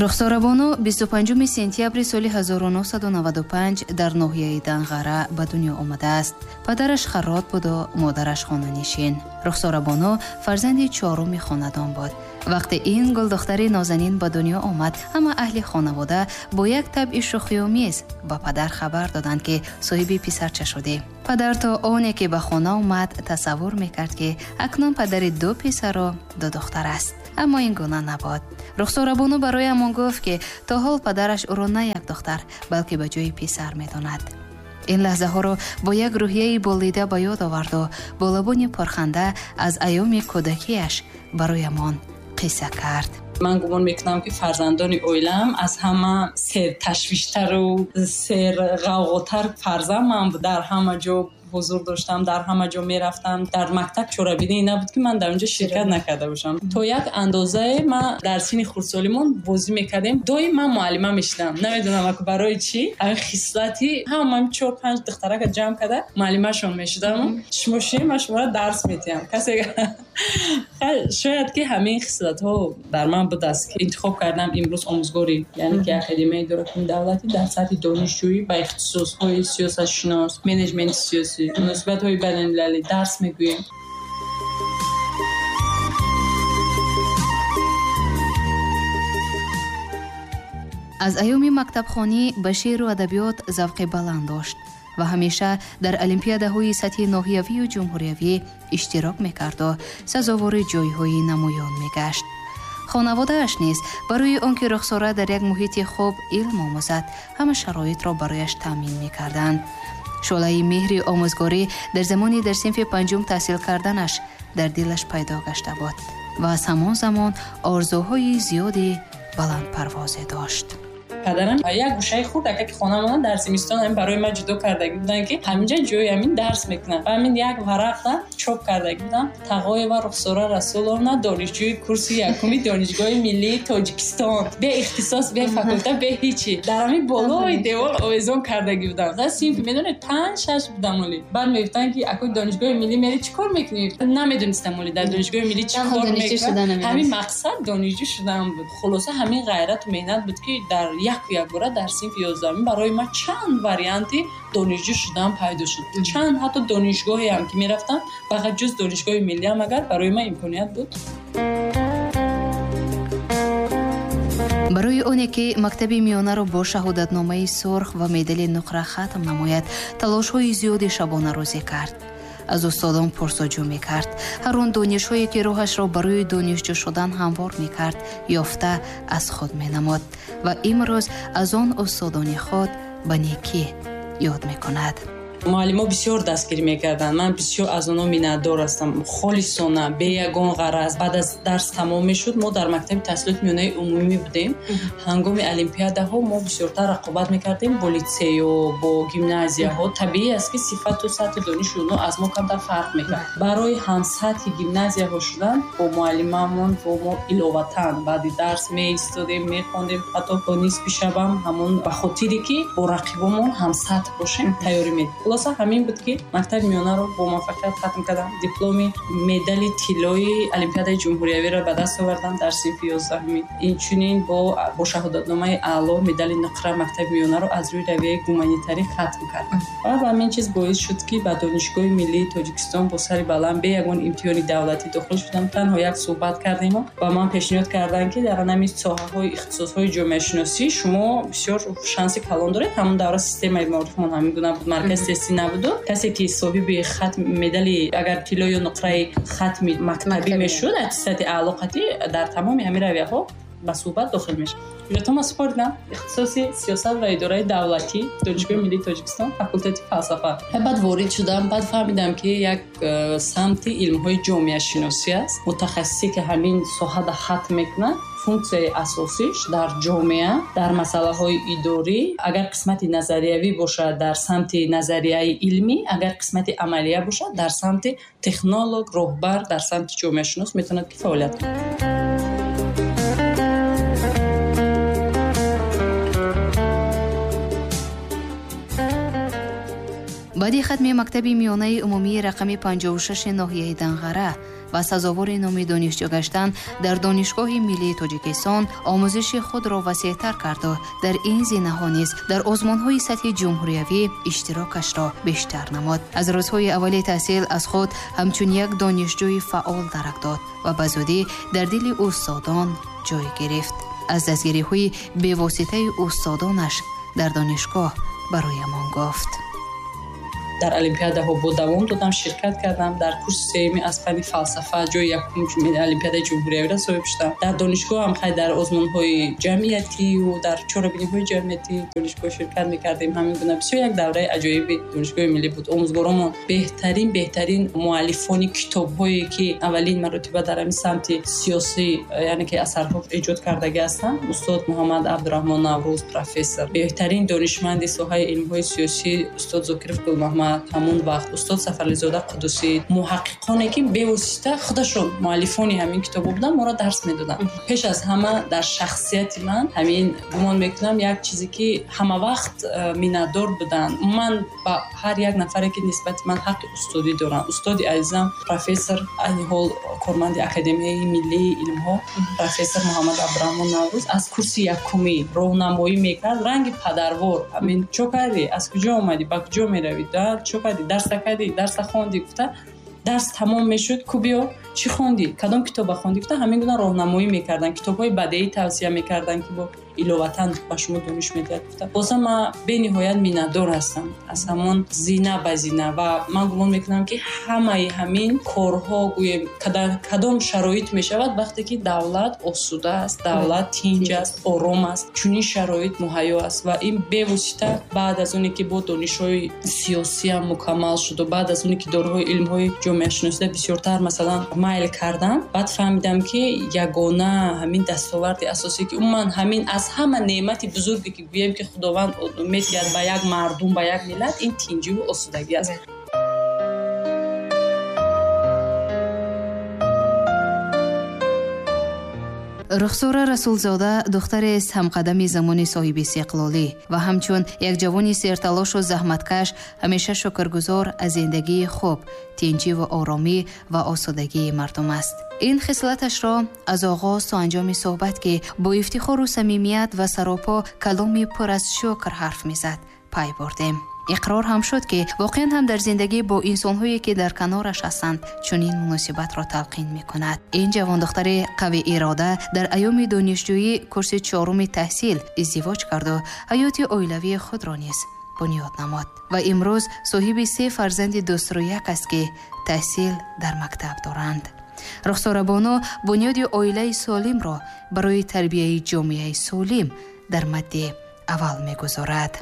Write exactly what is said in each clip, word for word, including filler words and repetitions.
Рухсорабону бисту панҷуми сентябри соли ҳазору нӯҳсаду наваду панҷ дар ноҳияи Данғара ба дунё омадааст. Падараш харрот буду модараш хонанишин. Рухсорабону фарзанди чоруми хонадон буд. Вақте ин гулдухтари нозанин ба дунё омад, ҳама аҳли хонавода бо як табъи шӯхиомез ба падар хабар доданд, ки соҳиби писарча шудем. Падар то оне ки ба хона омад тасаввур мекард, ки акнун падари ду писару ду духтар аст. Аммо ин гуна набуд. Рухсорабону бароямон гуфт, ки то ҳол падараш ӯро на як духтар, балки ба ҷои писар медонад. Ин лаҳзаҳоро бо як рӯҳияи болида ба ёд оварду бо лабони пурханда аз айёми кӯдакиаш бароямон қисса кард. Ман гумон мекунам, ки фарзандони оилаам аз ҳама серташвиштару серғавғотар фарзанд ман буд. Дар ҳама ҷо ҳузур доштам, дар ҳама ҷо мерафтам. Дар мактаб чорабинӣ набуд, ки ман дар онҷо ширкат накарда бошам. То як андозае ман дар синни хурдсолимон бозӣ мекардем. Доим ман муаллима мешудам. Намедонам барои чӣ. Ҳамин хислати ҳама чор панҷ духтарака ҷамъ карда муаллимашон мешудам. Шумо шин, ман шуморо дарс медиҳам. Касе шояд ки ҳамин хислатҳо дар ман будааст, ки интихоб кардам имрӯз омӯзгорӣ, яъне ки Академияи идоракунии давлатӣ дар сатҳи донишҷӯӣ ба ихтисосҳои сиёсатшинос, менеҷменти сиёсӣ, муносибатҳои байналмилалӣ дарс мегӯем. Аз айёми мактабхонӣ ба шеъру адабиёт завқи баланд дошт ва ҳамеша дар олимпиадаҳои сатҳи ноҳиявию ҷумҳуриявӣ иштирок мекарду сазовори ҷойҳои намоён мегашт. Хонаводааш низ барои он ки Рухсора дар як муҳити хуб илм омӯзад, ҳама шароитро барояш таъмин мекарданд. Шӯълаи меҳри омӯзгорӣ дар замони дар синфи панҷум таҳсил карданаш дар дилаш пайдо гашта буд ва аз ҳамон замон орзуҳои зиёди баландпарвозе дошт. Падарам як гӯшаи хурд ака ки хонамона дар зимистон ҳамин барои ман ҷудо кардагӣ буданд, ки ҳаминҷа ҷои ҳамин дарс мекунам. Ва ҳамин як варақта чоп кардагӣ будам. Тағоева Рухсора Расуловна, донишҷӯи курси якуми Донишгоҳи миллии Тоҷикистон. Бе ихтисос, бе факулта, бе ҳичи. Дар ҳамин болои девор овезон кардагӣ будам. Дар синф медонед панҷ шаш будам оли. Баъд мегуфтанд, ки акои Донишгоҳи миллӣ мери чӣ кор мекунӣ? Намедонистам оли дар Донишгоҳи миллӣ чӣ кор мекунам. Ҳамин мақсад донишҷӯ шудан буд. Хулоса ҳамин ғайрату меҳнат буд, ки дар як якбора дар синфи ёздаҳум барои ман чанд варианти донишҷӯ шудан пайдо шуд. Чанд ҳатто донишгоҳеам ки мерафтам, фақат ҷуз Донишгоҳи миллиам агар барои ман имконият буд. Барои оне ки мактаби миёнаро бо шаҳодатномаи сурх ва медали нуқра хатм намояд, талошҳои зиёди шабонарӯзӣ кард. Аз устодон пурсоҷӯ мекард. Ҳар он донишҳое ки роҳашро барои донишҷӯ шудан ҳамвор мекард, ёфта аз худ менамуд ва имрӯз аз он устодони худ ба некӣ ёд мекунад. Муаллимо бисёр дастгирӣ мекарданд. Ман бисёр аз онҳо миннатдор ҳастам. Холисона, бе ягон ғараз. Баъд аз дарс тамом мешуд, мо дар мактаби таҳсилоти миёнаи умумӣ будем. Ҳангоми олимпиадаҳо мо бисёртар рақобат мекардем бо литсею, бо гимназияҳо. Табиӣ аст, ки сифату сатҳи дониши онҳо аз мо камтар фарқ мекард. Барои ҳамсатҳи гимназияҳо шудан бо муаллимамон бо мо иловатан баъди дарс меистодем, мехондем, ҳатто то нисфи шабам ҳамон ба хотире ки бо рақибомон ҳамсатҳ бошем тайёрӣ медодем. Хулоса ҳамин буд, ки мактаби миёнаро бо муваффақият хатм кардам. Дипломи медали тиллои Олимпиадаи ҷумҳуриявиро ба даст овардам дар синфи ёздаҳуми. Инчунин бо бо шаҳодатномаи аъло медали нуқра мактаби миёнаро аз рӯи равияи гуманитарӣ хатм кардам. Ва ҳамин чиз боис шуд, ки ба Донишгоҳи миллии Тоҷикистон бо сари баланд бе ягон имтиҳони давлатӣ дохил шудам. Танҳо як суҳбат кардему ва ман пешниҳод кардам, ки дар ҳамин соҳаҳои ихтисосҳои ҷомеашиносӣ шумо бисёр шанси калон доред. Ҳамон давра системаи маорифмон ҳамин гуна буд, марказ тестӣ набуду. Касе ки соҳиби хатм медали агар тилло ё нуқраи хатми мактабӣ мешуд, аттестати аъло қатъӣ дар тамоми ҳамин равияҳо ба суҳбат дохил мешуд. Ҳуҷҷатҳоро супоридам. Ихтисоси сиёсат ва идораи давлатӣ, Донишгоҳи миллии Тоҷикистон, факултети фалсафа. Баъд ворид шудам, баъд фаҳмидам, ки як самти илмҳои ҷомеашиносӣ аст. Мутахассисе ки ҳамин соҳада хатм мекунад, функсияи асосиш дар ҷомеа, дар масъалаҳои идорӣ, агар қисмати назариявӣ бошад дар самти назарияи илмӣ, агар қисмати амалия бошад дар самти технолог, роҳбар, дар самти ҷомеашинос метавонад ки фаъолият кунад. Баъди хатми мактаби миёнаи умумии рақами панҷоҳу шаши ноҳияи Данғара ва сазовори номи донишҷӯ гаштан дар Донишгоҳи миллии Тоҷикистон омӯзиши худро васеътар карду дар ин зинаҳо низ дар озмунҳои сатҳи ҷумҳуриявӣ иштирокашро бештар намуд. Аз рӯзҳои аввали таҳсил аз худ ҳамчун як донишҷӯи фаъол дарак дод ва ба зудӣ дар дили устодон ҷой гирифт. Аз дастгириҳои бевоситаи устодонаш дар донишгоҳ бароямон гуфт. Дар олимпиадаҳо бо давом додам, ширкат кардам. Дар курси сеюми аз фанни фалсафа ҷои якум олимпиадаи ҷумҳуриявиро соҳиб шудам. Дар донишгоҳ ҳам хай дар озмунҳои ҷамъиятию дар чорабиниҳои ҷамъиятӣ донишгоҳ ширкат мекардем. Ҳамин гуна бисёр як давраи аҷоиби донишгоҳи миллӣ буд. Омӯзгоромон беҳтарин беҳтарин муаллифони китобҳое ки аввалин маротиба дар ҳамин самти сиёсӣ, яъне ки асарҳо эҷод кардагӣ ҳастанд, устод Муҳаммад Абдураҳмон Наврӯз профессор, беҳтарин донишманди соҳаи илмҳои сиёсӣ устод Зокиров Гулмаҳмад, ҳамон вақт устод Сафарализода Қудусӣ, муҳаққиқоне ки бевосита худашон муаллифони ҳамин китобҳо буданд, моро дарс медоданд. Пеш аз ҳама дар шахсияти ман ҳамин гумон мекунам як чизе ки ҳама вақт миннатдор буданд. Ман ба ҳар як нафаре ки нисбати ман ҳаққи устодӣ доранд, устоди азизам профессор, айни ҳол корманди Академияи миллии илмҳо профессор Муҳаммад Абдураҳмон Наврӯз, аз курси якумӣ роҳнамоӣ мекард, ранги падарвор. Ҳамин чо кардӣ, аз куҷо омадӣ, ба куҷо меравӣ, чо кардӣ, дарса кардӣ, дарса хондӣ гуфта, дарс тамом мешуд, ку биё, чӣ хондӣ, кадом китоба хондӣ гуфта, ҳамин гуна роҳнамоӣ мекарданд, китобҳои бадеӣ тавсия мекарданд ки бо иловатан ба шумо дониш медиҳад гуфта. Бозам ман бениҳоят миннатдор ҳастам аз ҳамон зина ба зина ва ман гумон мекунам ки ҳамаи ҳамин корҳо гӯем кадом шароит мешавад вақте ки давлат осуда аст, давлат тинҷ аст, ором аст, чунин шароит муҳайё аст ва ин бевосита баъд аз оне ки бо донишҳои сиёсиам мукаммал шуду баъд аз оне ки дораҳои илмҳои ҷомеашиносида бисёртар масалан майл кардам, баъд фаҳмидам ки ягона ҳамин дастоварди асосӣ ки умуман ҳамин аз ҳама неъмати бузурге ки гӯем ки Худованд медиҳад ба як мардум, ба як миллат, ин тинҷиву осудагӣ аст. Рухсора Расулзода духтарест ҳамқадами замони соҳиби истиқлолӣ ва ҳамчун як ҷавони серталошу заҳматкаш ҳамеша шукргузор аз зиндагии хуб, тинҷиву оромӣ ва осудагии мардум аст. Ин хислаташро аз оғоз то анҷоми суҳбат ки бо ифтихору самимият ва саропо каломи пур аз шукр ҳарф мезад пай бурдем. Иқрор ҳам шуд ки воқеан ҳам дар зиндагӣ бо инсонҳое ки дар канораш ҳастанд чунин муносибатро талқин мекунад. Ин ҷавондухтари қавӣ ирода дар айёми донишҷӯӣ курси чоруми таҳсил издивоҷ карду ҳаёти оилавии худро низ бунёд намуд ва имрӯз соҳиби се фарзанди дӯстрӯяк аст ки таҳсил дар мактаб доранд. Рухсора бону бунёди оилаи солимро барои тарбияи ҷомеаи солим дар мадди аввал мегузорад.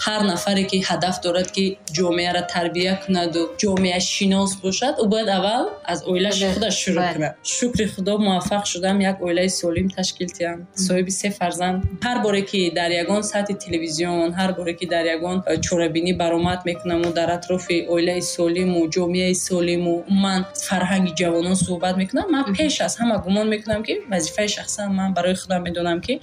Ҳар нафаре ки ҳадаф дорад ки ҷомеаро тарбия кунаду ҷомеашинос бошад, ӯ бояд аввал аз оилааш худаш шурӯъ кунад. Шукри Худо муваффақ шудам, як оилаи солим ташкил диҳам, соҳиби се фарзанд. Ҳар боре ки дар ягон сатҳи телевизион, ҳар боре ки дар ягон чорабинӣ баромад мекунаму дар атрофи оилаи солиму ҷомеаи солиму умуман фарҳанги ҷавонон суҳбат мекунам, ман пеш аз ҳама гумон мекунам ки вазифаи шахсан ман барои худам медонам ки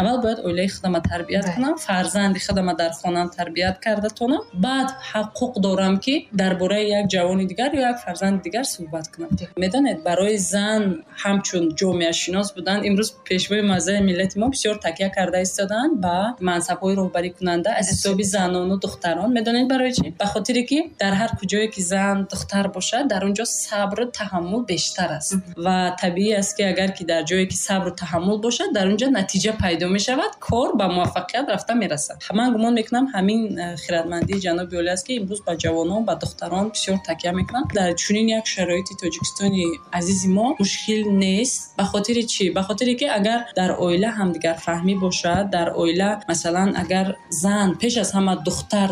аввал бояд оилаи худама тарбият кунам, фарзанди худама дар хонам тарбият карда тонам, баъд ҳуқуқ дорам ки дар бораи як ҷавони дигар ё як фарзанди дигар суҳбат кунам. Медонед, барои зан ҳамчун ҷомеашинос будан имрӯз пешвои муаззами миллати мо бисёр такя карда истодаанд ба мансабҳои роҳбарикунанда аз ҳисоби занону духтарон. Медонед барои чӣ? Ба хотире ки дар ҳар куҷое ки зан духтар бошад, дар он ҷо сабру таҳаммул бештар аст ва табиӣ аст ки агар ки дар ҷое ки сабру таҳаммул бошад, дар он ҷо натиҷа пайдо мешавад, кор ба муваффақият рафта мерасад. Ман гумон мекунам ҳамин хирадмандии ҷаноби олӣ аст ки имрӯз ба ҷавонон, ба духтарон бисёр такя мекунанд. Дар чунин як шароити Тоҷикистони азизи мо мушкил нест. Ба хотири чӣ? Ба хотире ки агар дар оила ҳамдигарфаҳмӣ бошад, дар оила масалан агар зан пеш аз ҳама духтар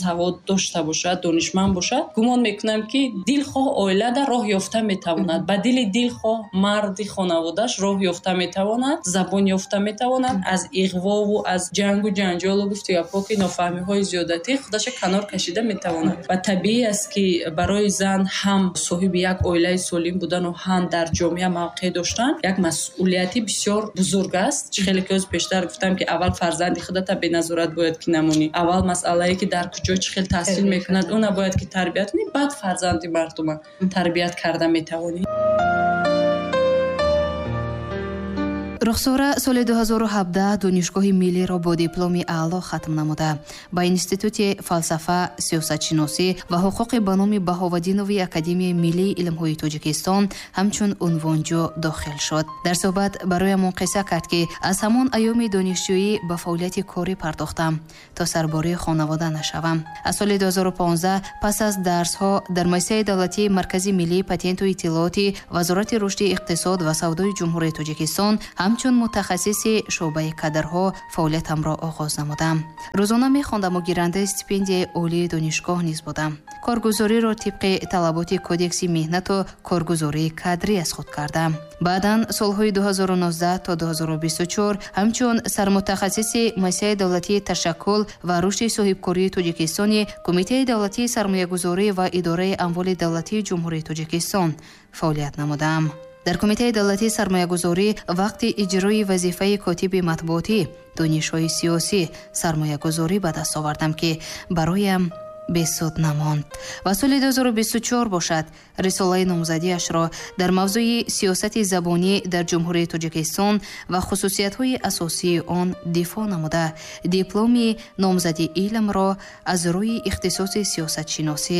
савод дошта бошад, донишманд бошад, гумон мекунам ки дилхоҳ оила дар роҳ ёфта метавонад. Ба дили дилхоҳ марди хонаводааш роҳ ёфта метавонад, забон ёфта метавонад, аз иғвову аз ҷангу ҷанҷолу гуфтугапҳо ки нофаҳмиҳои зиёдатӣ худаша канор кашида метавонад. Ва табиӣ аст ки барои зан ҳам соҳиби як оилаи солим будану ҳам дар ҷомеа мавқеъ доштан як масъулияти бисёр бузург аст. Чӣ хеле ки ҳоз пештар гуфтам ки аввал фарзанди худата беназорат бояд ки намонӣ, аввал масъалае ки дар куҷо чӣ хел таҳсил мекунад, уна бояд ки тарбият кунӣ, баъд фарзанди мардума тарбият карда метавонӣ. Рухсора соли ду ҳазору ҳабдаҳ Донишгоҳи миллиро бо дипломи аъло хатм намуда, ба Институти фалсафа, сиёсатшиносӣ ва ҳуқуқи ба номи Баҳоваддинови Академияи миллии илмҳои Тоҷикистон ҳамчун унвонҷӯ дохил шуд. Дар суҳбат бароямон қисса кард, ки аз ҳамон айёми донишҷӯӣ ба фаъолияти корӣ пардохтам то сарбории хонавода нашавам. Аз соли ду ҳазору понздаҳ пас аз дарсҳо дар муассисаи давлатии Маркази миллии патенту иттилооти Вазорати рушди иқтисод ва савдои Ҷумҳурии Тоҷикистон ҳамчун мутахассиси шӯъбаи кадрҳо фаъолиятамро оғоз намудам. Рӯзона мехондаму гирандаи стипендияи олии донишгоҳ низ будам. Коргузориро тибқи талаботи кодекси меҳнату коргузории кадрӣ аз худ кардам. Баъдан солҳои ду ҳазору нуздаҳ то ду ҳазору бисту чор ҳамчун сармутахассиси муассисаи давлатии ташаккул ва рушди соҳибкории Тоҷикистони Кумитаи давлатии сармоягузорӣ ва идораи амволи давлатии Ҷумҳурии Тоҷикистон фаъолият намудам. Дар Кумитаи давлатии сармоягузорӣ вақти иҷрои вазифаи котиби матбуотӣ донишҳои сиёсӣ сармоягузорӣ ба даст овардам, ки бароям бесуд намонд. Ва соли ду ҳазору бисту чор бошад, рисолаи номзадиашро дар мавзӯи сиёсати забонӣ дар Ҷумҳурии Тоҷикистон ва хусусиятҳои асосии он дифоъ намуда, дипломи номзади илмро аз рӯи ихтисоси сиёсатшиносӣ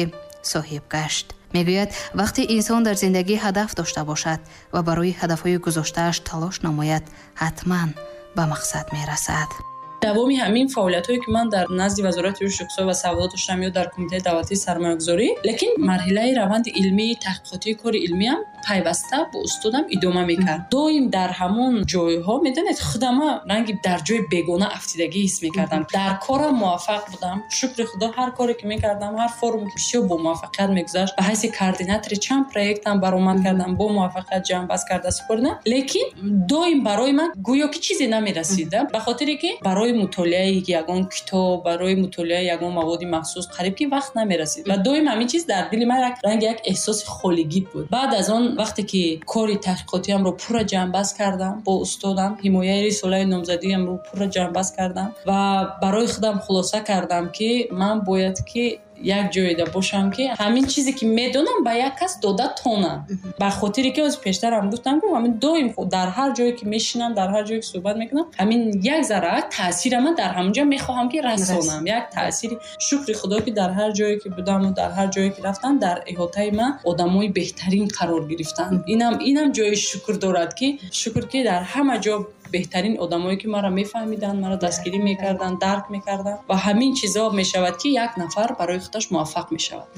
соҳиб гашт. Мегӯяд, вақте инсон дар зиндагӣ ҳадаф дошта бошад ва барои ҳадафҳои гузоштааш талош намояд, ҳатман ба мақсад мерасад. Давоми ҳамин фаъолиятҳое, ки ман дар назди Вазорати рушди иқтисод ва савдо доштам ё дар Кумитаи давлатии сармоягузорӣ, лекин марҳилаи раванди илмии таҳқиқотии кори илмиам пайваста бо устодам идома мекард. Доим дар ҳамон ҷойҳо, медонед, худама ранги дар ҷои бегона афтидагӣ ҳис мекардам. Дар корам муваффақ будам. Шукри Худо, ҳар коре ки мекардам, ҳар форум бисёр бо муваффақият мегузашт. Ба ҳайси координатори чанд проектам баромад кардам, бо муваффақият ҷамъбаст карда супоридам. Лекин доим барои ман гӯё ки чизе намерасид, ба хотире ки барои мутолиаи ягон китоб, барои мутолиаи ягон маводи махсус қариб ки вақт намерасид. Ва доим ҳамин чиз дар дили ман як ранги як эҳсоси холигӣ буд. Баъд аз он вақте ки кори таҳқиқотиамро пурра ҷамъбаст кардам бо устодам, ҳимояи рисолаи номзадиамро пурра ҷамъбаст кардам ва барои худам хулоса кардам, ки ман бояд ки як ҷойда бошам, ки ҳамин чизе ки медонам ба як кас дода тонам. Ба хотире ки ҳозир пештарам гуфтам, ки ҳамин доим дар ҳар ҷое ки мешинам, дар ҳар ҷое ки суҳбат мекунам, ҳамин як зарра таъсира ман дар ҳамон ҷо мехоҳам ки расонам. Як таъсири, шукри Худо, ки дар ҳар ҷое ки будаму дар ҳар ҷое ки рафтам, дар иҳотаи ман одамои беҳтарин қарор гирифтанд. Инам инам ҷои шукр дорад, ки шукр ки дар ҳама ҷо беҳтарин одамое ки маро мефаҳмиданд, маро дастгирӣ мекарданд, дарк мекарданд. Ва ҳамин чизо мешавад, ки як нафар барои худаш муваффақ мешавад.